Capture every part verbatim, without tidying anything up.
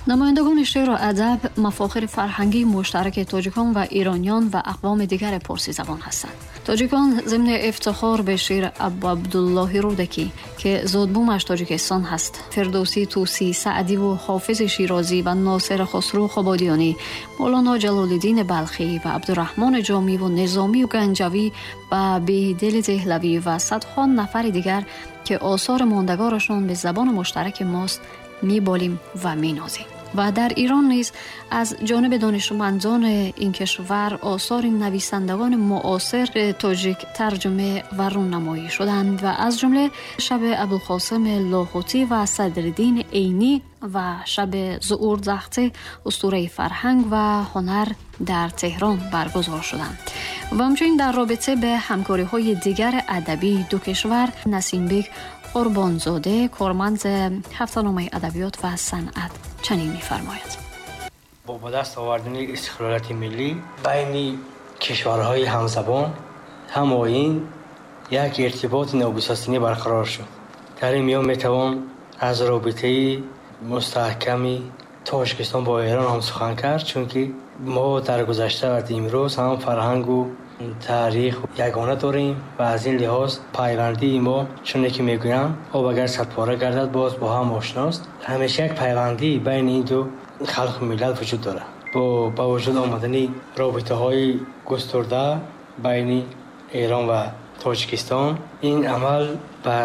Намояндагони шеъру адаб мафохири фарҳангии муштараки тоҷикон ва ирониён ва ақвоми дигари порсизабон ҳастанд. Тоҷикон зимни ифтихор ба шеъри Абуабдуллоҳи Рӯдакӣ, ки зодбумаш Тоҷикистон ҳаст, Фирдавсӣ, Тӯсӣ, Саъдӣ ва Ҳофизи Шерозӣ ва Носири Хусрав Қубодиёнӣ, Мавлоно Ҷалолуддин Балхӣ ва Абдурраҳмони Ҷомӣ ва Низомӣ ва Ганҷавӣ ва Бедили Деҳлавӣ ва садҳо нафари дигар, ки осори мондагорашон ба забони муштараки мост, меболем ва менозем. Ва дар Эрон низ аз ҷониби донишмандони ин кишвар осори нависандагони муосири тоҷик тарҷума ва рӯнамоӣ шуданд ва аз ҷумла шаби Абулқосим Лоҳутӣ ва Садриддин Айнӣ ва шаби Зуҳур Захти устураи фарҳанг ва ҳунар дар Теҳрон баргузор шуданд. Ва ҳамчунин дар робита ба ҳамкориҳои дигари адабии ду кишвар Насимбек Қурбонзода, корманди ҳафтаномаи адабиёт ва санъат, чунин мефармояд: бо ба даст овардани истиқлолияти миллӣ байни кишварҳои ҳамзабон, ҳамоин як иртиботи ногусастанӣ барқарор шуд. Дар ин миён метавон аз робитаи мустаҳками Тоҷикистон бо Эрон ҳам сухан кард, чунки мо дар гузашта ва имрӯз ҳам фарҳангу таърих ягона дорем ва аз ин лиҳоз пайвандии мо, чуне ки мегӯям, об агар садпора гардад, боз бо ҳам ошност. Ҳамеша як пайвандӣ байни ин ду халқу миллат вуҷуд дорад. Бо ба вуҷуд омадани робитаҳои густурда байни Эрон ва Тоҷикистон, ин амал ба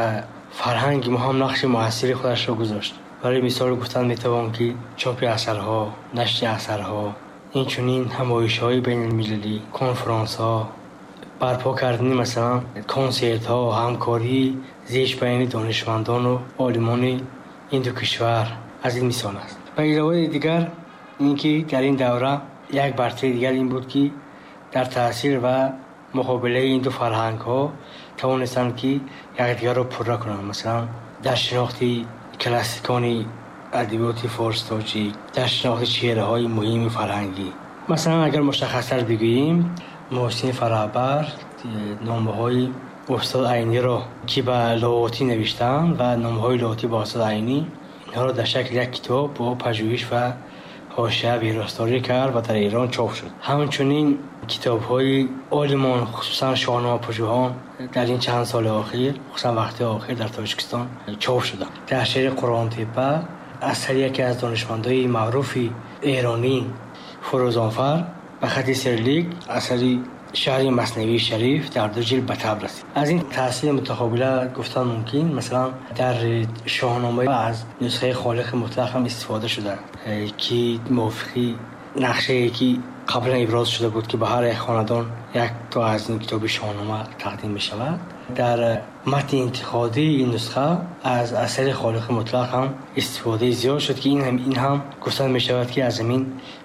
фарҳанги мо ҳам нақши муассири худашро гузошт. Барои мисол гуфтан метавон, ки чопи асарҳо, нашри асарҳо, инчунин ҳамоишҳои байналмилалӣ, конфронсҳо, барпо кардани масалан консертҳо, ҳамкории зич байни донишмандону олимони ин ду кишвар аз ин мисол аст. Ба иловаи дигар ин ки дар ин давра як бартарии дигар ин буд, ки дар таъсир ва муқобилаи ин ду фарҳангҳо тавонистанд, ки якдигарро пурра кунанд. Масалан, дар шинохти классикони адабиёти форс тоҷик, дар шинохти чеҳраҳои муҳими фарҳангӣ. Масалан, агар мушаххастар бигӯем, Муҳсин Фараҳбар номаҳои устод Айниро, ки ба Лоҳутӣ навиштанд, ва номаҳои Лоҳутӣ ба устод Айнӣ, инҳоро дар шакли як китоб бо пажӯҳиш ва ҳошия виросторӣ кард ва дар Эрон чоп шуд. Ҳамчунин китобҳои олимон, хусусан шоҳномапажӯҳон, дар ин чанд соли охир, хусусан вақти охир дар Тоҷикистон чоп шуданд. Дар шеъри Қуръонтепа асари яке аз донишмандони маъруфи эронӣ Фурӯзонфар ба хати сирлик асари шаҳри Маснавии Шариф дар ду ҷилд ба таб расид. Аз ин таъсири мутақобила гуфтан мумкин, масалан, дар Шоҳнома аз нусхаи Холиқи Мутлақ ҳам истифода шуда, ки мувофиқи нақшае ки қаблан иброз шуда буд, ки ба ҳар як хонадон як то аз ин китоби Шоҳнома тақдим мешавад. Дар матни интиқодии ин нусха аз асари Холиқи Мутлақ ҳам истифодаи зиёд шуд, ки ин ҳам, ин ҳам гуфтан мешавад, ки аз ҳамин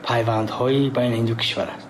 пайвандҳои байни ин ду кишвар аст.